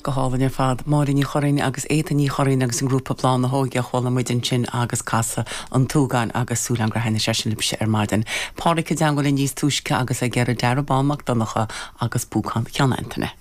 Go hálainn ar fad. Máire Ní Churraoin agus Étaín Ní Churraoin agus an grúpa Bláth na hÓige a chuala muid ansin agus Casadh an tSúgáin agus súil agam gur thaitnigh sé sin libhse ar maidin. Pádraic i dteangmháil linn níos túisce agus ag iarraidh Darragh Bán Mac Donncha agus Púcán Cheann Antaine.